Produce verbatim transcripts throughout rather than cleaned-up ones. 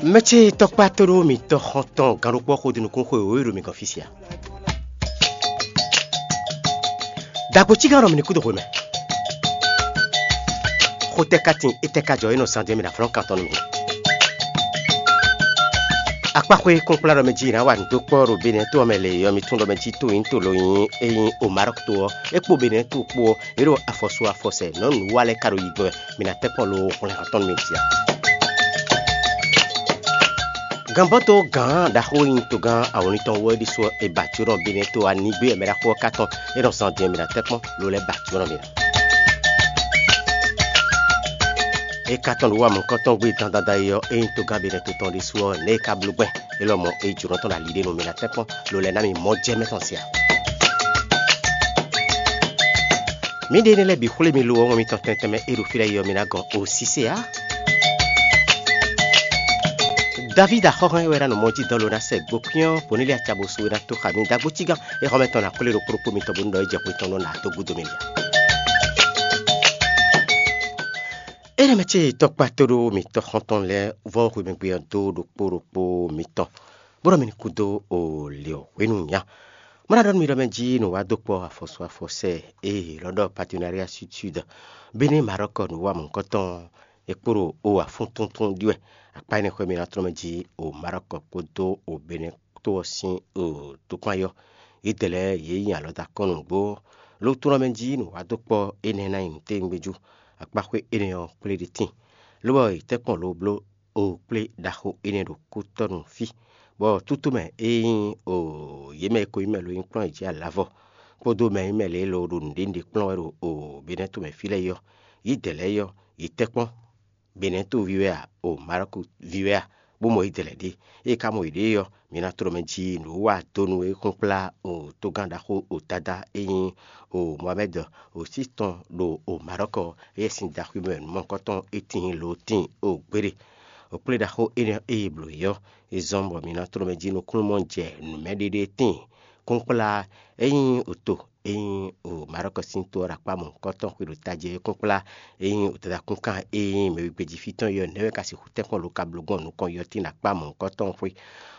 Mɛ ce tɔkpá tóɖó mitɔn xɔntɔn gannukpɔ́ xodunukún xwe wǒ e ɖo mi gɔn fí sia. Dagbo cígán nɔ mi ní kúdo hwe mɛ. Xotɛ ka tin etɛ ka jɔ e nɔ zan jɛ mi ɖo aflɔ́n kan tɔn nú mi. Akpáxwé kúnkplá ɖɔ mɛ jí ná wa nǔ dó kpɔ́ ɖo Benɛ́ to ɔ́ mɛ lě ɔ́, mi tún ɖɔ mɛ jí to nyí to lo nyí e nyí o Marɔ́k to ɔ́, é kpó Benɛ́ to kpó ɔ́, yě ɖo afɔsu afɔsɛ nɔ́ nǔ wa lɛ́ɛ ka ɖo yi gbɔn wɛ. Mi ná tɛ́ kpɔ́n lo xwlɛ́n atɔ́ nú mi sia. Gǎnbɔ́to gǎn ɖaxó e nyí togán awɔnlin tɔn wú ɔ́ ɖésú ɔ́, è ba jǒnɔ Benɛ́ to anigbé wɛ mɛ ɖaxó ɔ́ ka tɔn. É nɔ zan din ɔ́, mi ná tɛ́ kpɔ́n lo lɛ́ɛ ba jǒnɔ mi ná. É ka tɔn ɖo wá mɔ̌kɔ́tɔn gbé dandan e ɔ́, é nyí togán Benɛ́ to tɔn ɖésú ɔ́, nɛ̌ è ka bló gbɛn? É lɔmɔ̌ é jǒnɔ tɔn ɖo ali ɖé nú mi ná tɛ́ kpɔ́n lo lɛ́ɛ ná mi mɔ jɛ mɛ tɔn sia. Mǐɖée énɛ́ lɛ́ɛ bǐ xwlé mi lo ɔ́, wɛn mitɔn tɛntɛn mɛ e ɖo fí lɛ́ɛ yi ɔ́, mi ná gɔn osísé ǎ. Davídi axɔ́hɔ́n e wɛ ná nɔ mɔ jí dɔn lo ná sɛ gbokwín ɔ́, Kɔnéliyasi acabosu e ná tó xa mì dó agbócígán. É xɔ mɛ tɔn ná kplé ɖo kplɔ́kpó mitɔn bónú ɖɔ é jɛ xwe tɔn nɔ ná dó gúdo mì lɛ. Énɛ́ mɛ ce tɔkpá tóɖó mitɔn xɔ́ntɔn lɛ́ɛ vɔ́ hwemɛgbe ɔ́ dó ɖokpó ɖokpó mitɔn, bó ɖɔ mi ní kú dó o lě ɔ́ hwenu nya. Má ná ɖɔ nú mi ɖɔ mɛ jí nǔ wa dó kpɔ́ afɔsu afɔsɛ e è lɔ ɖɔ Partenariat Sud Sud, Benɛ́ Marɔ́k nǔ wa mɔ̌hunkɔtɔn é kpo ɖo o afúntúntún ɖi wɛ. Akpá énɛ́ xwé mi ná tlɔ́n mɛ jí o Marɔ́k kpódó o Benɛ́ to ɔ́ sín o tokpán yɔ. Yědɛɛ lɛ́ɛ yě nyi alɔ dó akɔ́n nǔgbó. Lo tunɔ mɛ jí nǔ wa dó kpɔ́ énɛ́ ná nyi nǔtɛ́ngbéjú. Akpáxwé énɛ́ ɔ́ kplé ɖi tíin, lobɔ è tɛ́ kpɔ́n lo bló o kplé ɖaxó énɛ́ ɖo kútɔ́nu fí, bɔ tútú mɛ e nyí o yě mɛ e ko nyí mɛ lo nyí kplɔ́n yě jí alǎvɔ, kpódó mɛ e nyí mɛ lě e lo ɖo nǔɖé nǔɖé kplɔ́n wɛ ɖo o Benɛ́ to mɛ fí lɛ́ɛ é ɔ́, yě dɛ̌ lɛ́ɛ é ɔ́, yě tɛ́ kpɔ́n. Benɛ́ to ví wɛ a, o Marɔ́ku ví wɛ a, bó mɔ yě dɛ̌ lɛ́ɛ ɖe. Ée é ka mɔ yěɖée ɔ́, mi ná tló mɛ jí nǔ wa dó nú é kúnkplá o togán ɖaxó o Dadá e nyí o Mohamɛ́d o sí tɔn ɖo o Marɔ́k ɔ́, éyɛ́ sín daxwé mɛ nǔmɔkɔ́tɔn é tíin lo tíin o gbéɖe. O kplé ɖaxó énɛ́ e è blǒ é ɔ́, é zɔ́n bɔ mi ná tló mɛ jí nukúnnú mɔ jɛ nǔmɛɖéɖé tíin. Kúnkplá e nyí oto e nyí o Marɔ́k sín to ɔ́ ɖo akpá mɔ̌hunkɔtɔn xwe ɖo tají é kúnkplá e nyí o dadakúnkan e nyí mɛwígbéjífí tɔn é ɔ́, nɛ̌ wɛ ka sixú tɛ́nkpɔ́n lo ka bló gbɔn nukɔn yɔtín ɖo akpá mɔ̌hunkɔtɔn xwé?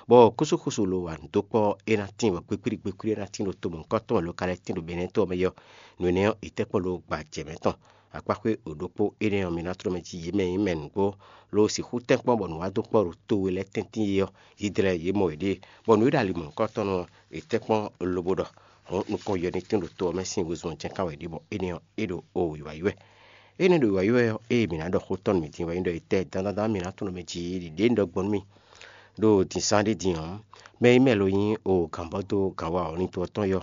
Bɔ kúsúkúsu lo wa nǔ dó kpɔ́ é ná tín bɔ gbékplí gbékplí é ná tín ɖo to mɔ̌hunkɔtɔn mɛ lo ka lɛ́ tín ɖo Benɛ́ to ɔ́ mɛ é ɔ́, nǔ énɛ́ ɔ́, è tɛ́ kpɔ́n lo gba jɛ mɛ tɔn. Akpáxwé o ɖokpó énɛ́ ɔ́, mi ná tló mɛ jí yě mɛ e nyí mɛ nǔgbó, lo sixú tɛ́nkpɔ́n bɔ nǔ wa dó kpɔ́ ɖo to e lɛ́ tɛ́ntin é ɔ́, yídlɛ́ yě mɔ yěɖée, bɔ nǔ e ɖo ali mɔ̌hunkɔtɔn ɔ́, è tɛ́ kpɔ́n lobo ɖɔ hɔn nukɔn yɔ ní tín ɖo to ɔ́ mɛ sín wezun ɔ́ jɛ́n ká wɛ é ɖe, bɔ énɛ́ ɔ́, é ɖo o wǐwá yi wɛ. Énɛ́ ɖo wǐwá yi wɛ ɔ́, ée mǐ ná ɖɔ xó tɔn nú mi din wɛ nyí ɖɔ etɛ́ dandandan mǐ ná tunwun mɛ jí ɖiɖě un ɖɔ gbɔn nú mi ɖo dǐnsán ɖé din ɔ́, mɛ e nyí mɛ lo nyí o gǎnbɔ́ dó gǎnwa ɔ́, lin to ɔ́ tɔn yɔ,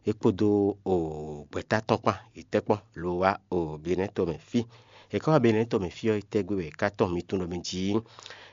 é kpódó o gbɛ̌ta tɔn kpán, yě tɛ́ kpɔ́n lo wá o Benɛ́ to mɛ fí. È ka wá Benɛ́ to mɛ fí ɔ́, é tɛ́ gbe wɛ è ka tɔn mi tunwun ɖɔ mi jí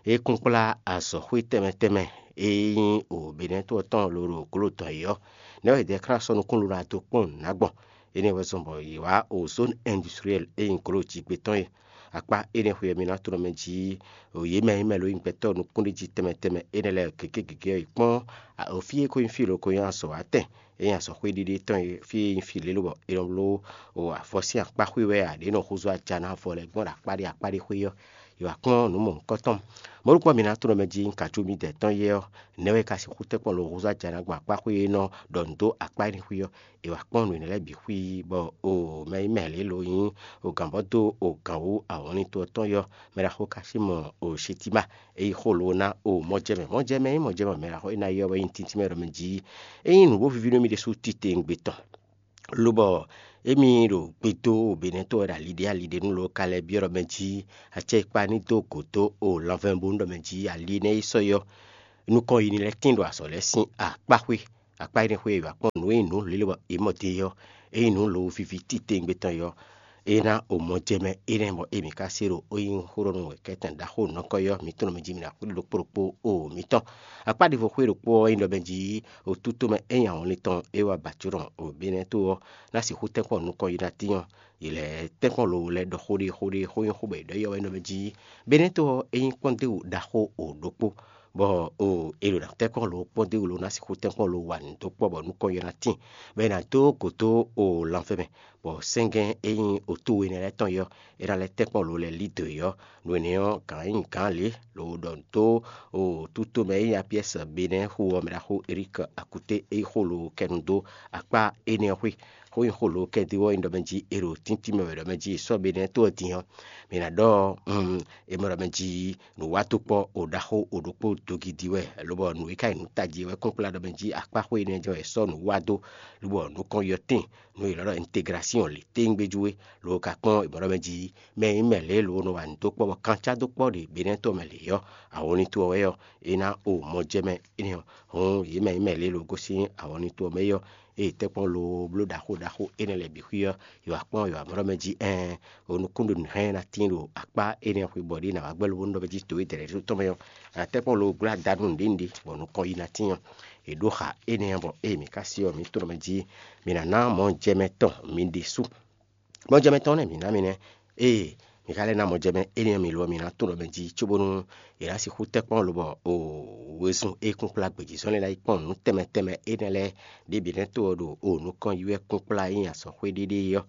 é kún kplá azɔ̌xwé tɛnmɛ tɛnmɛ e nyí o Benɛ́ to ɔ́ tɔn lo ɖo gǒlo tɔn é ɔ́, nɛ̌ wɛ è dɛ xlá sɔ́ nukúnɖóná dó kpɔ́n nǔ ná gbɔn? Énɛ́ wɛ zɔ́n bɔ yě wá o zone industrielle e nyí gǒlo jǐgbé tɔn é. Akpá énɛ́ xwe ɔ́, mi ná tunwun mɛ jí o yě mɛ e nyí mɛ lo nyí gbɛtɔ́ nukúnɖéjí tɛnmɛ tɛnmɛ énɛ́ lɛ́ɛ gěgé gěgé ɔ́ yi kpɔ́n, a- o fí e ko nyí fí lo ko nyí azɔ̌ wá tɛn, e nyí azɔ̌xwé ɖiɖe tɔn e fí e nyí fí lělobɔ è nɔ bló o afɔ sín akpáxwé wɛ a, ɖě nɔ húzú aja ná vɔ lɛ́ɛ gbɔn ɖo akpá ɖé akpá ɖé xwé ɔ́, è wǎ kplɔ́n nǔ mɔ̌hunkɔtɔn. Mɔ̌ ɖokpó ɔ́, mi ná tunwun mɛ jí un ka jú mi dɛ tɔn yɛ ɔ́, nɛ̌ wɛ ka sixú tɛ́nkpɔ́n lo húzú aja ná gbɔn akpáxwé e nɔ ɖɔ nǔ dó akpá énɛ́ xwé ɔ́, è wǎ kpɔ́n nǔ énɛ́ lɛ́ɛ bǐ xwí, bɔ o mɛ e nyí mɛ lě lo nyí o gǎnbɔ́ dó o gǎn wú awɔnlín to ɔ́ tɔn yɔ, mɛ ɖaxó ka sí mɔ o Sitima, é yi xó lo ná o mɔjɛmɛ. Mɔjɛmɛ e nyí mɔjɛmɛ mɛ ɖaxó e ná yɔ wɛ nyí tíntín mɛ ɖɔ mɛ jí é nyí nǔ bó víví nú mì ɖésú titewungbe tɔn. Lobɔ émí ɖo gbe dó Benɛ́ to wɛ ɖo ali ɖé ali ɖé nú lo ka lɛ́ byɔ́ ɖɔ mɛ jí acɛ e kpa ní dó gǒ dó o lanvɛ́nbónú ɖɔ mɛ jí ali énɛ́ e sɔ́ yɔ nukɔn yi ní lɛ́ tín ɖo azɔ̌ lɛ́ɛ sín akpáxwé. Akpá énɛ́ xwé e è wǎ kpɔ́n nǔ e nyí nǔ lělebɔ è mɔ din é ɔ́, é nyí nǔ lowo víví titewungbe tɔn é ɔ́, é ná o mɔ jɛ mɛ énɛ́ bɔ émí ka se ɖo é nyí xó ɖɔ nú wɛ̌kɛ́tɛn ɖaxó nukɔn é ɔ́, mi tunwun mɛ jí mi ná xwlí ɖokpó ɖokpó o mitɔn. Akpá ɖěvo xwé ɖokpó ɔ́ nyí ɖɔ mɛ jí o tútomɛ é nyí awɔnlin tɔn é wá ba jǒnɔ o Benɛ́ to ɔ́ ná sixú tɛ́nkpɔ́n nukɔn yi ná tín ɔ́, yě lɛ́ tɛ́nkpɔ́n lowo lɛ́ɛ ɖɔ xó ɖé xó ɖé xó nyí xó bɔ è ɖɔ yɔ wɛ nɔ mɛ jí Benɛ́ to ɔ́ é nyí kpɔ́ndéwǔ ɖaxó o ɖokpó. bɔ o è ɖo ná tɛ́nkpɔ́n lo kpɔ́n dó wǔ lo ná sixú tɛ́nkpɔ́n lo wa nǔ dó kpɔ́ bɔ nukɔn ylɔ́ ná tíin, bɔ è nǎ dó gǒ dó o lanfɛ́nmɛ, bɔ sɛ́ngɛ́n e nyí otúwe énɛ́ lɛ́ɛ tɔn ɔ́, é ná lɛ́ tɛ́nkpɔ́n lo lɛ́ɛ lí dǒ é ɔ́, nǔ énɛ́ ɔ́, gǎn e nyí gǎn lě lo ɖɔ nǔ dó o tútomɛ e nyí Apiɛ́si Benɛ́ xu ɔ́ mɛ ɖaxó Elík Akuté e nyí xó lo kɛ nu dó akpá énɛ́ ɔ́ xwé. Xó nyí xó lo kɛ dó ɔ́ nyí ɖɔ mɛ jí è ɖo tíntín mɛ wɛ ɖɔ mɛ jí è sɔ́ Benɛ́ to ɔ́ din ɔ́, mǐ ná ɖɔ è mɔ ɖɔ mɛ jí nǔwatɔ́kpɔ́ o ɖaxó o ɖokpó dogidi wɛ, lobɔ nǔ e ka nyí nǔ tají wɛ kpɔ́nkplá ɖɔ mɛ jí akpáxwé énɛ́ jɛ́n wɛ è sɔ́ nǔ wa dó, lobɔ nǔ kɔn yɔ tíin, nú è lɔ́ ɖɔ integrásiɔn lě téngbéjú é, lo ka kpɔ́n è mɔ ɖɔ mɛ jí mɛ e nyí mɛ lě lo nɔ wa nǔ dó kpɔ́ bɔ kancá dó kpɔ́ ɖě Benɛ́ to ɔ́ mɛ lě ɔ́, awɔnlin to ɔ́ wɛ ɔ́, é ná o mɔ jɛ mɛ énɛ́ ɔ́. Hǔn yě mɛ e nyí mɛ lě lo gosín awɔnlin to ɔ́ mɛ é ɔ́, ée tɛ́nkpɔ́n lo bló ɖaxó ɖaxó énɛ́ lɛ́ɛ bǐ xwí ɔ́, yě wá kpɔ́n yě wá mɔ ɖɔ mɛ jí ɛɛn, o nukúnɖonǔhɛn ná tíin ɖo akpá énɛ́ xwebɔ ɖé ná wá gbɛ́ lobo nú ɖɔ mɛ jí to e dɛ̌ ɖésú tɔn mɛ ɔ́, tɛ́nkpɔ́n lo glá da nú nǔɖé nǔɖé bɔ nukɔn yi ná tíin ɔ́, è ɖó xa énɛ́ ɔ́ bɔ ée mǐ ka sí ɔ́, mǐ tunɔ mɛ jí mǐ ná ná mɔjɛmɛ tɔn mi ɖésú. Mɔjɛmɛ tɔn nɛ́ mǐ ná mi nɛ́. Ée mǐ ka lɛ́ ná mɔjɛmɛ énɛ́ ɔ́ mi lo ɔ́, mǐ ná tunɔ mɛ jí cóbónú è nǎ sixú tɛ́ kpɔ́n lobɔ o wezun e kún kplá gbějízɔ́n lɛ́ɛ ná yi kpɔ́n nǔ tɛnmɛ tɛnmɛ énɛ́ lɛ́ɛ ɖě bǐ nɛ́ to ɔ́ ɖo o nukɔn yi wɛ kún kplá e nyí azɔ̌xwé ɖéɖé é ɔ́.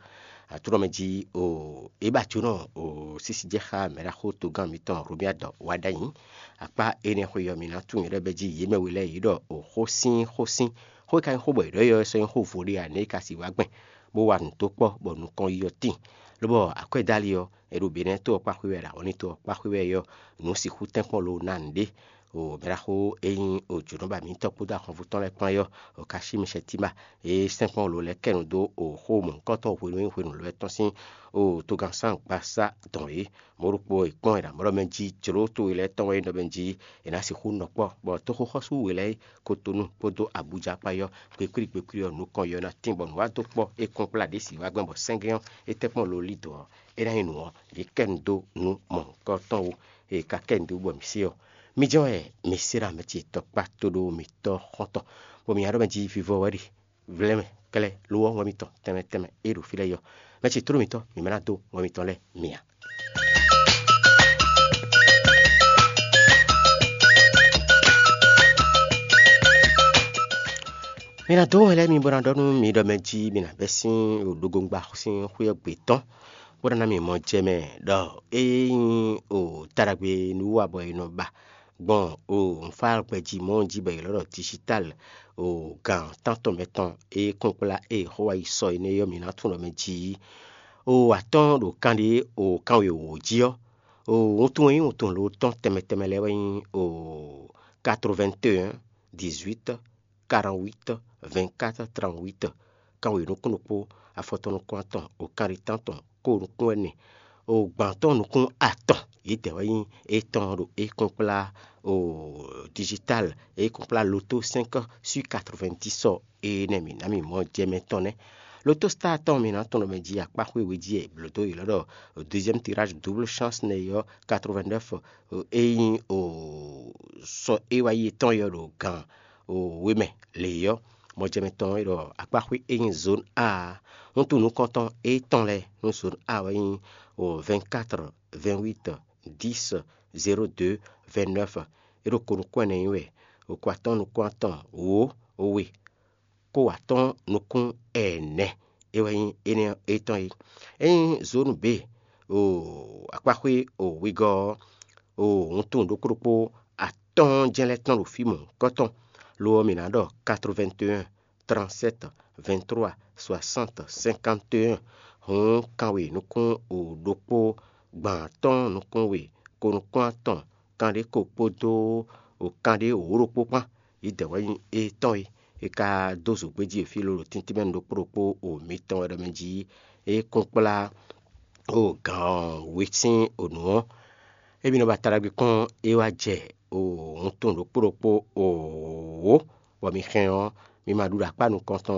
Aklúnɔ mɛ jí o é ba jǒnɔ o sísí jɛ xá mɛɖaxó togán mǐtɔn Hlomia dɔ wá ɖ'ayǐ. Akpá énɛ́ xwe ɔ́, mǐ ná tunwun yě ɖɔ bɛ́ jí yě mɛ we lɛ́ɛ yě ɖɔ o xó sín xó sín xó e ka nyí xó bɔ yě ɖɔ é ɔ́ sɔ́ nyí xó vo ɖé ǎ, nɛ̌ é ka sixú wá gbɛn bó wa nǔ dó kpɔ́ bɔ nukɔn yi ɔ́ tíin. Lobɔ akwɛ́dálí ɔ́, è ɖo Benɛ́ to ɔ́ kpá xwé wɛ, ɖo awɔnlín to ɔ́ kpá xwé wɛ é ɔ́, nǔ sixú tɛ́nkpɔ́n lo ná nǔɖé. O mɛɖaxó e nyí o jǒnɔba mǐtɔn kpódó ahwanvú tɔn lɛ́ɛ kpán é ɔ́, o ka cí Mɛsɛtíma e sɛ́nkplɔ́n lo lɛ́ɛ kɛ nǔ dó o xó mɔ̌hunkɔtɔn hwenu e nyí hwenu lɔ́ tɔn sín o togannsángbansá dɔn é. Mɔ̌ ɖokpó è kpɔ́n è nǎ mlɔ́ mɛ jí jlǒ towe lɛ́ɛ tɔn wɛ nyí ɖɔ mɛ jí è nǎ sixú nɔ kpɔ́, bɔ toxoxɔ́sú we lɛ́ɛ kotonu kpódó Abuja kpá yɔ́ kpekplí kpekplí ɔ́ nukɔn yɔ ná tín bɔ nǔ wá dó kpɔ́ é kɔn kplá ɖě si wá gbɛn bɔ sɛ́ngɛ́n ɔ́ é tɛ́ kpɔ́n lo lí dɔ̌ ɔ́, é ná nyí nǔ ɔ́, yě kɛ nu dó nú mɔ̌hunkɔtɔn wú. È ka kɛ nu dó bɔ mǐ se ɔ́, mí jɛ́n wɛ mǐ se ɖo amɛ ce tɔkpá tóɖó mǐtɔn xɔ́ntɔn, bɔ mǐ nya ɖɔ mɛ jí vivɔ wɛ ɖe vlɛ́mɛ klɛ́ ló ɔ́ wɛn mitɔn tɛnmɛ tɛnmɛ e ɖo fí lɛ́ɛ yɔ. Mɛ ce tló mitɔn mǐ ma ná dó wɛn mitɔn lɛ́ɛ mi ǎ. Mi ná dó wɛn lɛ́ɛ mi bó ná ɖɔ nú mi ɖɔ mɛ jí mi ná bɛ́ sín ɖoɖógongba sín xwé ɔ́ gbe tɔn, bó ná ná mi mɔ jɛ mɛ ɖɔ é nyí o taɖagbe nú wa bɔ è nɔ ba gbɔn o nǔfágbɛjí mɔ̌ jí bɔ è lɔ́ ɖɔ digital o gǎn tántɔn mɛtɔn e kɔn kplá e Yehowa yi sɔ énɛ́ ɔ́, mǐ ná tunwun ɖɔ mɛ jí o atɔ́ɔ́n ɖo kanɖé o kanwewǒ jí ɔ́, o wuntun e nyí wuntun lo tɔn tɛnmɛ tɛnmɛ lɛ́ɛ wɛ nyí o quatre-vingt-un dix-huit quarante-huit vingt-quatre trente-huit, kanwe nukún ɖokpó, afɔtɔn nukún atɔn, o kanɖé tántɔn, ko nukún ɛnɛ, o gbǎntɔn nukún atɔn, yědɛɛ wɛ nyí étɔn ɖo é kɔn kplá o digital, é kɔn kplá loto cinq sur quatre-vingt-dix ɔ́, énɛ́ mǐ ná mì mɔ jɛ mɛ tɔn nɛ́. Loto star tɔn mǐ ná tunwun ɖɔ mɛ jí akpá xwé we jí e blǒ dó yě lɔ́ ɖɔ deuxième tirage double chance nɛ́ ɔ́ quatre-vingt-neuf, é nyí o sɔ é wá yi étɔn yɔ ɖo gǎn o we mɛ lě ɔ́, mɔjɛmɛ tɔn e ɖɔ akpáxwé e nyí zone A, wuntun nukɔntɔn étɔn lɛ́ɛ nú zone A wɛ nyí o vingt-quatre, vingt-huit, dix, zéro deux, vingt-neuf. É ɖo ko nukún ɛnɛ nyí wɛ, o ko atɔ́ɔ́n nukún atɔn, wǒ, we, ko atɔ́ɔ́n nukún ɛnɛ. É wɛ nyí énɛ́ étɔn é. Ényí zone B o akpáxwé o wegɔ́ ɔ́, o wuntun ɖokpó ɖokpó atɔ́ɔ́n jɛ́n lɛ́ tɔ́n ɖo fí mɔ̌hunkɔtɔn, lo ɔ́, mǐ ná ɖɔ quatre-vingt-un, trente-sept, vingt-trois, soixante, cinquante et un. Hǔn kanwe nukún o ɖokpó, gbǎn atɔ́ɔ́n nukún we, ko nukún atɔn, kanɖé ko kpódó o kanɖé wǒ ɖokpó kpán, yědɛɛ wɛ nyí étɔn é. È ka dó zǒgbéjí e fí lolo tíntín mɛ ɖokpó ɖokpó o mitɔn wɛ ɖɔ mɛ jí é kún kplá o gǎn we sín o nǔ ɔ́, émí nɔ ba ta ɖagbe kpɔ́n é wá jɛ o wuntun ɖokpó ɖokpó o wǒ, bɔ mi hɛn ɔ́, mi ma ɖu ɖo akpá nukɔntɔn